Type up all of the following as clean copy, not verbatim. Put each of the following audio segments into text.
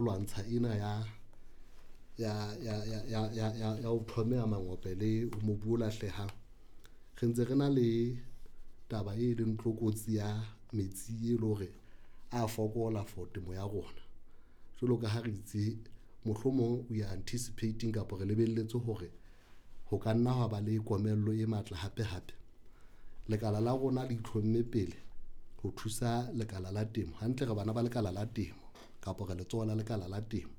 Lwantsha ena ya ho thomeha mangope le mobu o lahlehang, re ntse re na le taba e leng tlokotsi ya metsi e le hore a fokola for temo ya rona. Jwalo ka ha re itse mohlomong we are anticipating kapa re lebelletse hore ho ka nna hwa ba le komello e matla hape hape. Lekala la rona le itlhomme pele ho thusa lekala la temo hantle re bana ba lekala la temo kapa re letsoho la lekala la temo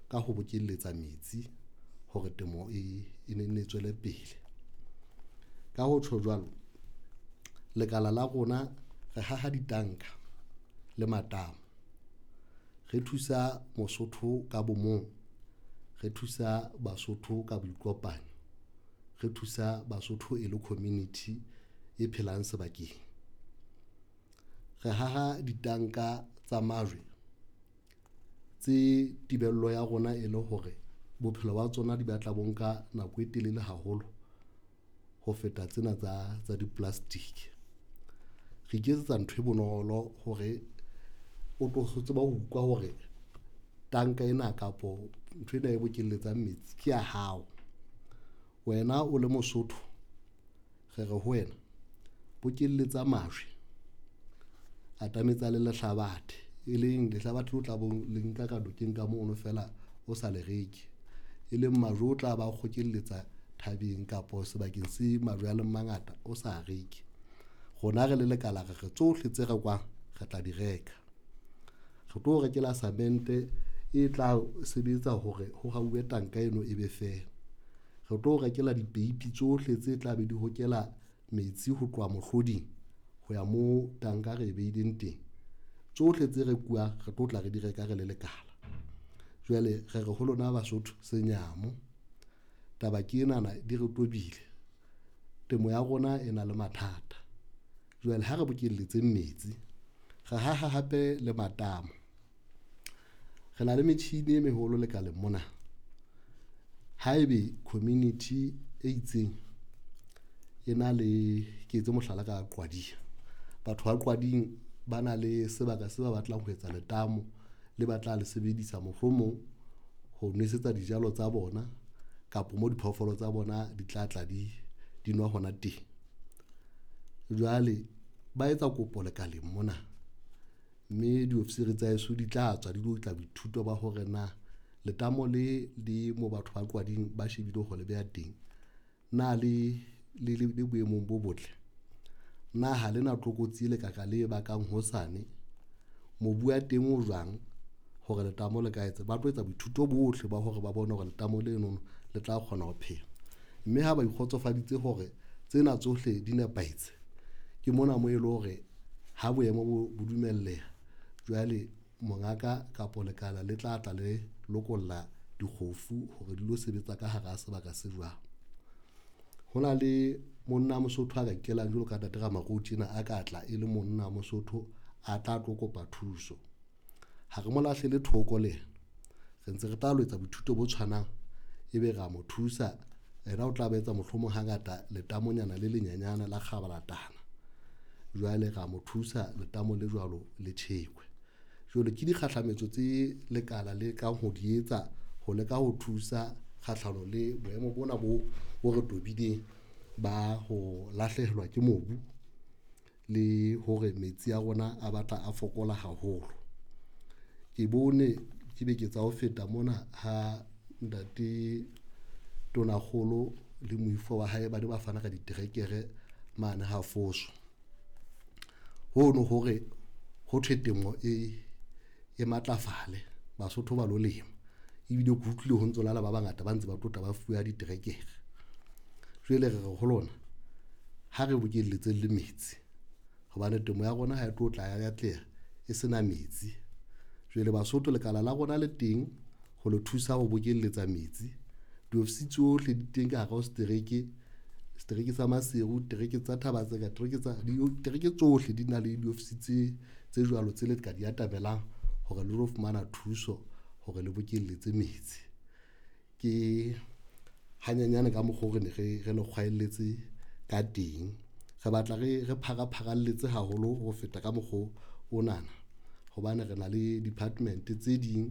ka ho bokelletsa metsi hore temo e ne nne tswele pele. Ka ho tjho jwalo, lekala la rona re haha ditanka le matamo, re thusa Mosotho ka bo mong, re thusa Basotho ka boikopanyo, re thusa Basotho e le community e phelang sebakeng. Re haha ditanka tsa majwe tse tebello ya rona e le hore bophelo ba tsona di batla bo nka nako e telele haholo ho feta tsena tsa di-plastic. Re iketsetsa ntho e bonolo hore o tlo tseba ho utlwa hore tanka ena kapo nthwena e bokelletsang metsi ke ya hao. Wena o le Mosotho, re re ho wena bokelletsa majwe, atametsa le lehlabathe, e leng lehlabathe o tla bong le nka ka nokeng ka mono feela o sa le reke, e leng majwe o tla ba kgokelletsa thabeng kapo sebakeng se majwe a leng mangata o sa reke. Rona re le lekala re re tsohle tse rekwang re tla di reka, re tlo o rekela samente e tla sebetsa hore ho hauwe tanka eno e be feela, re tlo rekela dipeipi tsohle tse tla be di hokela metsi ho tloha mohloding ho ya moo tanka re e behileng teng. Tsohle tse rekuwang re tlo tla re di reka re le lekala. Jwale re re ho lona Basotho senyamo taba ke enana di re tobile, temo ya rona e na le mathata. Jwale ha re bokelletse metsi, re haha hape le matamo, re na le metjhini e meholo lekaleng mona. Haebe community e itseng e na le, ke etse mohlala ka Qwadia, batho ba Qwading ba na le sebaka se ba batlang ho etsa letamo le ba tla le sebedisa mohlomong ho nwesetsa dijalo tsa bona kapa mo diphoofolo tsa bona di tla tla di nwa hona teng. Jwale ba etsa kopo lekaleng mona, mme diofisiri tsa heso di tla tswa di lo tla boithuto ba hore na letamo le le mo batho ba Qwading ba shebile ho le beha teng, na le le boemong bo botle, na ha lena tlokotsi e lekaka le bakang hosane, mobu wa teng o jwang hore letamo le ka etsa, ba tlo etsa boithuto bohle ba hore ba bone hore letamo lenono le tla kgona ho phela, mme ha ba ikgotsofaditse hore tsena tsohle di nepahetse, ke mona mo e le hore ha boemo bo dumelleha, jwale mongaka kapa lekala le tla tla le lokolla dikgofu hore di lo sebetsa ka hara sebaka se jwang. Ho na le monna Mosotho a ka ikelang jwalo ka ntate Ramaruo tjena a ka tla e le monna Mosotho a tla tlo kopa thuso. Ha re mo lahlele thoko le yena, re ntse re tla lo etsa boithuto bo tshwanang, ebe ra mo thusa, yena o tla ba etsa mohlomong hangata letamonyana le lenyenyane la kgabalatana, jwale ra mo thusa letamo le jwalo le tjhekwe. Jwale ke dikgahlametso tse lekala le kang ho di etsa ho leka ho thusa kgahlano le boemo bona bo re tobileng ba ho lahlehelwa ke mobu le hore metsi a rona a batla a fokola haholo. Ke bone ke beke tsa ho feta mona ha ntate Tonakgolo le moifo wa hae ba ne ba fana ka diterekere mane ha Foso, hono hore ho thwe temo e matlafale Basotho ba lo lema ebile ke utlwile ho ntso na le ba bangata ba ntse ba tlotla ba fuwa diterekere. Jwale re re ho lona ha re bokelletseng le metsi hobane temo ya rona ha e tlo tla ya atleha e sena metsi. Jwale Basotho lekala la rona le teng ho le thusa ho bokelletsa metsi, diofisi tsohle di teng ka hare ho setereke, setereke sa Maseru, tereke tsa Thaba-Tseka, tereke tsohle di na le diofisi tse jwalo tse le ka di atamelang hore le lo fumana thuso hore le bokelletse metsi. Ke hanyenyane ka mokgo re ne re le kgwaelletse ka teng, re batla re phara-pharalletse haholo ho feta ka mokgo onana hobane re na le department tse ding.